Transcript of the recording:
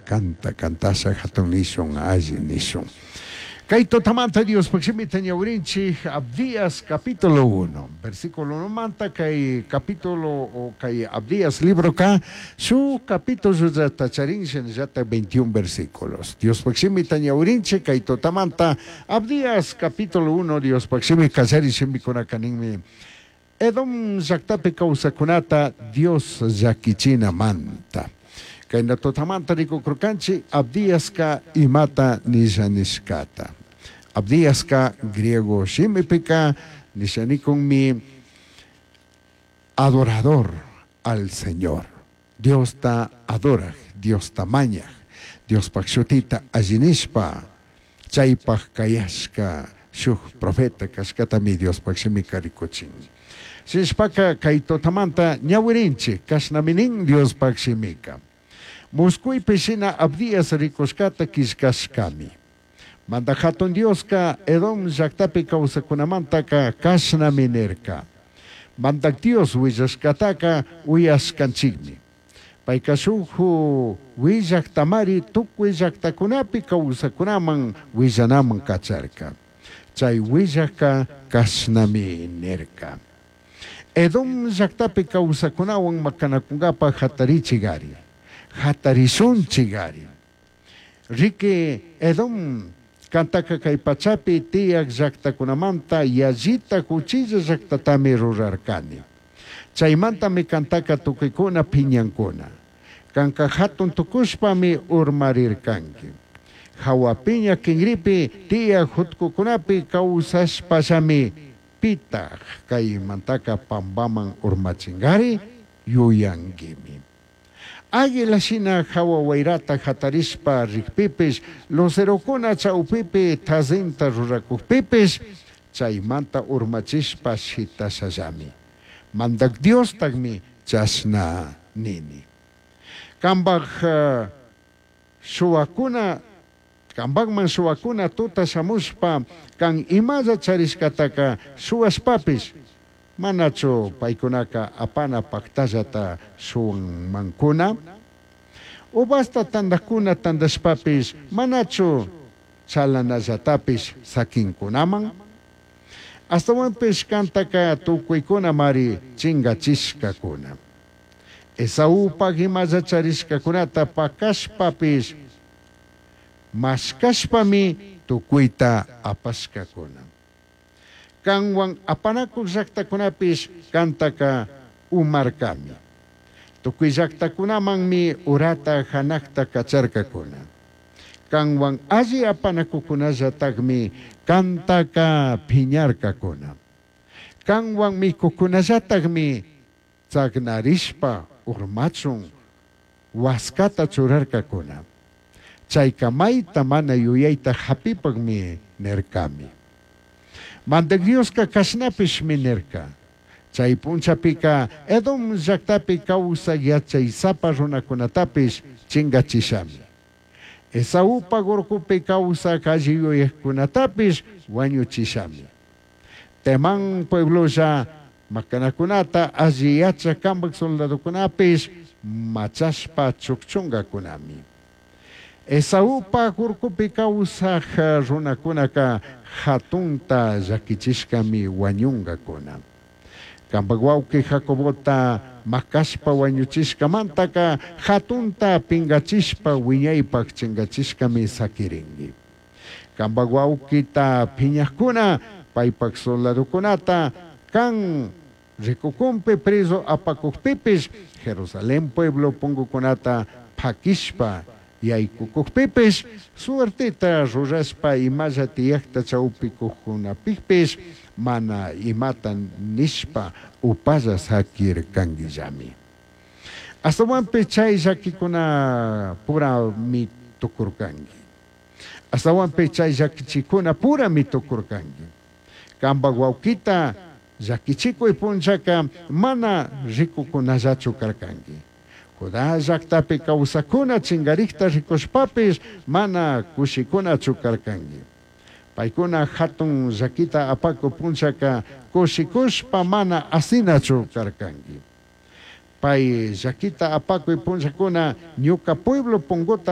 Kanta kantasha hatun nishun, alli nishun. Kay tutamanta Diospaj shimita ñawirinchik Abdías capítulo 1, versículo 1 manta kay capítulo o kay Abdías libroka shuj capítulo charin shinallata 21 versículos. Diospaj shimita ñawirinchik kay tutamanta Abdías capítulo 1 Diospaj shimi kallari shimikunaka ninmi Edom llaktapi kawsakunata Dios llakichinamanta. Kayna tutamanta rikukurkanchik Abdiaska imata nisha nishkata. Abdiaska griego shimipika nishanikunmi adorador al Señor. Diosta adoraj, Diosta mañaj, Diospaj shutita alli nishpa, chaypaj kayashka shuj profeta kashkatami Diospaj shimika rikuchin. Shinashpaka kay tutamanta ñawirinchik kashnami nin Diospaj shimika. Muskuypi shina Abdías rikushkata killkashkami. Mandaj hatun Dioska Edom llaktapi kawsakunamantaka kashnami nirka. Mandaj Dios willashkataka uyashkanchikmi. Payka shuk willaktamari tukuy llaktakunapi kawsakunaman willanaman kacharka. Chay willakka kashnami nirka. Edom llaktapi kawsakunawan makanakunkapaj hatarichigari. Hatarishunchigari. Riki Edom kantaka kay pachapi tiyak llaktakunamanta yallita huchilla llaktatami rurarkani. Chaymantami kantaka tukuykuna piñankuna. Kanka hatun tukushpami urmarirkanki. Hawa piña kinripi tiyak jutkukunapi kawsashpallami pitaj kaymantaka pampaman urmachinkari yuyankimi. Águila shina hawa wayrata hatarishpa rikpipish, lucerokuna chawpipi tazinta rurakukpipish, chaymanta urmachishpa shitashallami. Mandak Diostakmi chashna nini. Kambaj shuwakuna, kambakman shuwakuna tuta shamushpa, kan imalla charishkataka shuwashpapish, manachu paykunaka apana paktallata shuwanmankuna? Uvasta tandakuna tandashpapish, manachu chalanallatapish sakinkunaman? Astawanpish kantaka tukuykunamari chingachishkakuna. Esaúpaj imalla charishkakunata pakashpapish, mashkashpami tukuyta apashkakuna. Kanwan apanakuq llaktakunapish kantaka umarkami. Tukuy llaktakunamanmi urata hanakta kacharkakuna. Kanwan alli apanakukunallatakmi kantaka piñarkakuna. Kanwan mikukunallatakmi tsagnarishpa urmachun waskata churarkakuna. Chayka mayta mana yuyayta hapipakmi nirkami. Mandak Dioska kashnapishmi nirka. Chay punchapika Edom llaktapi kawsaq yachaysapa runakunatapish chingachishami. Esaúpa urkupi kawsaq alli yuyakkunatapish wañuchishami. Temán pueblolla makanakunata alli yachak kambak soldadokunapish machashpa chukchunkakunami. Esaúpa urkupi kawsaq runakunaka hatunta llakichishkami wañunkakuna. Kambak wawqi Jacobota makashpa wañuchishkamantaka hatunta pinkachishpa wiñaypak chinkachishkami sakirinki. Kambak wawqita piñakuna paypak soldadokunata kan rikukunpi preso apakukpipish Jerusalén pueblo punkukunata pakishpa yaykukukpipish suerteta rurashpa imalla tiyakta chawpikuqkunapikpish mana imata nishpa upalla sakirkankillami. Astawanpish chay llakikuna purami tukurkanki. Astawanpish chay llakichikuna purami tukurkanki. Kambak wawkita llakichikuy punchaka mana rikukunallachu karkanki. Judá llaktapi kawsakuna chinkarikta rikushpapish mana kushikunachu karkanki. Paykuna hatun llakita apaku punchaka kushikushpa mana asinachu karkanki. Pay llakita apakuy punchakuna ñuka pueblo punguta